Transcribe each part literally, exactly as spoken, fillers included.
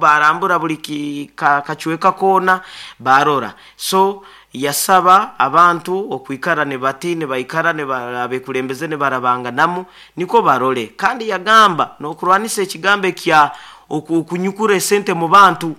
Barambura buli ki- ka- kacweka koona barora. So yasaba abantu okwikara nibati nibaikara niba- abekulembeze nibarabanganamu niko barole. Kandi yagamba n'okurwanisa ekigambo ekya oku- okunyukura esente mu bantu,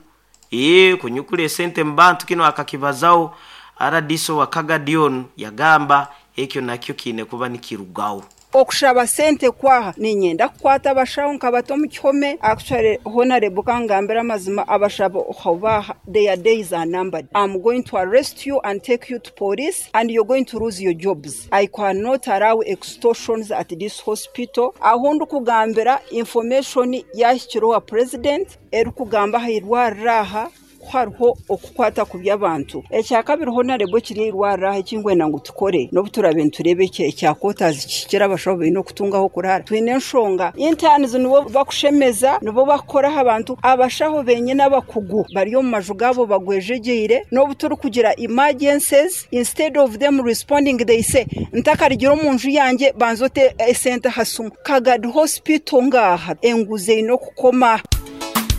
ee kunyukura esente mu bantu. Kino akakibazaho R D C wa Kagadi onu, yagamba ekyo nakyo kiine kuba nikirugaho. Okushaba sente kwaha ninyenda kukwata abashaho nkabata omu kihome. Actually, honorable, kangambira amazima, abashabo baha, their days are numbered. I'm going to arrest you and take you to police and you're going to lose your jobs. I cannot allow extortions at this hospital. Aho ndikugambira, information yahikireho wa president erikugamba aha irwariro aha hariho okukwata ku by'abantu. Ekyakabiri, honorable, kiri irwariro aha ekingwenda ngu tukore n'obu turabe nitureba eki ekya quarters kihikire, abashaho baine okutungaho kurara. Twine enshonga, interns nibo bakushemeza, nibo bakukoraho abantu. Abashaho benyine abakugu bari omu maju gaabo bagwejegyeire. N'obu turi kugira emergencies, instead of them responding, they say, "Ntakarigira omu nju yangye, banza ote esente aha simu." Kagadi Hospital ngaha enguzi eine okukoma.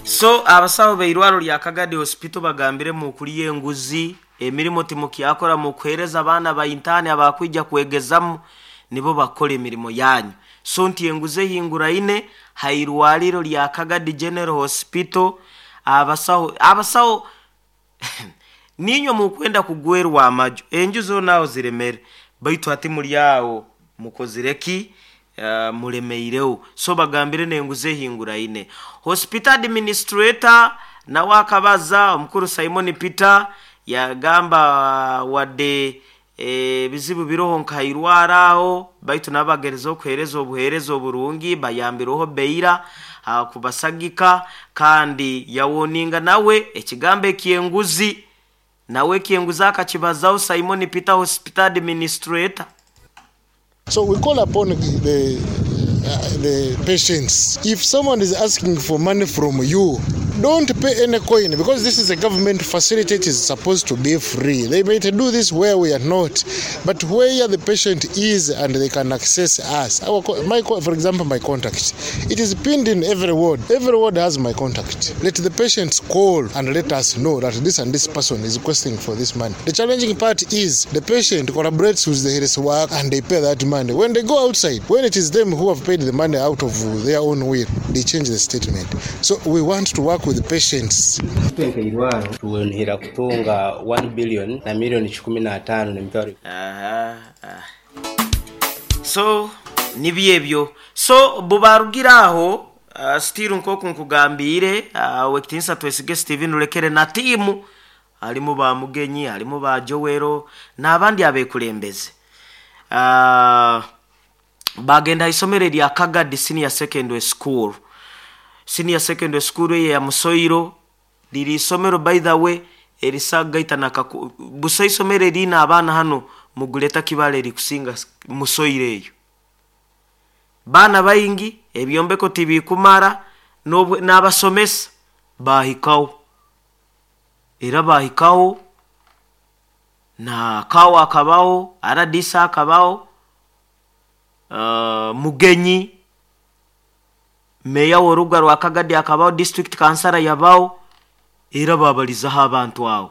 So abasawo beirwaro lya Kagadi Hospital bagambire mukuliya enguzi, emirimu timukyakora, mukuhereza abaana ba intern abakwija kwegezamu nibo bakora emirimo yanyu. So nti enguzi ehinguraine hairwaliro lya Kagadi General Hospital. abasawo abasawo ninywe mukwenda kugwerwa amaju, enju zonaho ziremere, baitu hati muli awo mukozireki? uh, mulemeireho. So bagambire nenguzi ehinguraine. Hospital administrator nawe akabaza, omukuru Simon Peter, yagamba wadde ebizibu biroho nkairwara aho, baitu nabagereza okuhereza obuhereza oburungi, bayambireho beira ah, kubasagika. Kandi yawoninga nawe ekigambo ekyenguzi, nawe ekyenguzi akakibazaho Simon Peter, hospital administrator. So we call upon the, uh, the patients. If someone is asking for money from you, don't pay any coin, because this is a government facility. It is supposed to be free. They might do this where we are not, but where the patient is and they can access us. Our, my, for example, my contact. It is pinned in every ward. Every ward has my contact. Let the patients call and let us know that this and this person is requesting for this money. The challenging part is the patient collaborates with the health work and they pay that money. When they go outside, when it is them who have paid the money out of their own will, they change the statement. So we want to work with the patients. Twenka tuwenhera kutunga one billion na milioni kikumi na tano nemitwaro. Aha, ah. So nibyo ebyo. So bubarugira aho, uh, still nkoku nkugambiire, uh, wekitinsa Twesige Steven Rurekere na tiimu, halimu ba Mugenyi, halimu ba Jowero n'abandi abekulembeze, uh, bagenda isomero erya Kagadi Senior Secondary School. Senior Secondary School eye ya Musoiro liri isomero, by the way, erisagaita nakaku busa. Isomero erina abaana hano muguleta kibale erikusinga Musoiro eyo, baana baingi, ebyombeko tibikumara. N'abasomesa bahikawo, era bahikawo na kawo akabawo, R D C akabawo, uh, Mugenyi, meya w'orubuga rwa Kagadi akabaho, district kansara yabaho, era babalizaho abantu awo.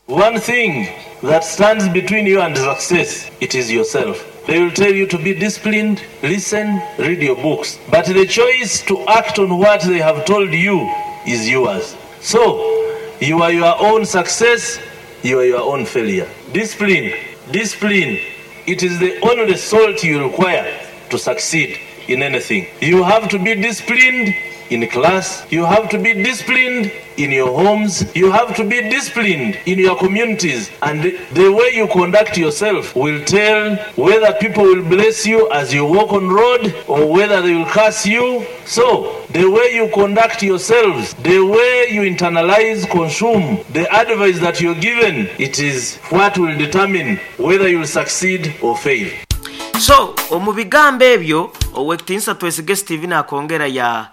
One thing that stands between you and success, it is yourself. They will tell you to be disciplined, listen, read your books. But the choice to act on what they have told you is yours. So, you are your own success, you are your own failure. Discipline, discipline, it is the only salt you require to succeed in anything. You have to be disciplined in class, you have to be disciplined in your homes, you have to be disciplined in your communities, and the way you conduct yourself will tell whether people will bless you as you walk on road or whether they will curse you. So, the way you conduct yourselves, the way you internalize, consume the advice that you're given, it is what will determine whether you will succeed or fail. So omu bigambo ebyo, owekitinsa Twesige Steven akongera ya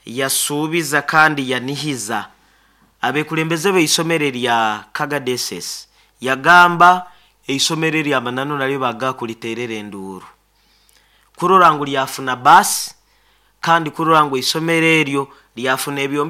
yasuubiza kandi yanihiza abekulembeze b'eisomero erya Kagadi S S. Yagamba eisomero eryamananu nalyo baga kuliterera enduuru kurora ngu lyafuna basi, kandi kurora ngu eisomero eryo lyafuna ebyombe.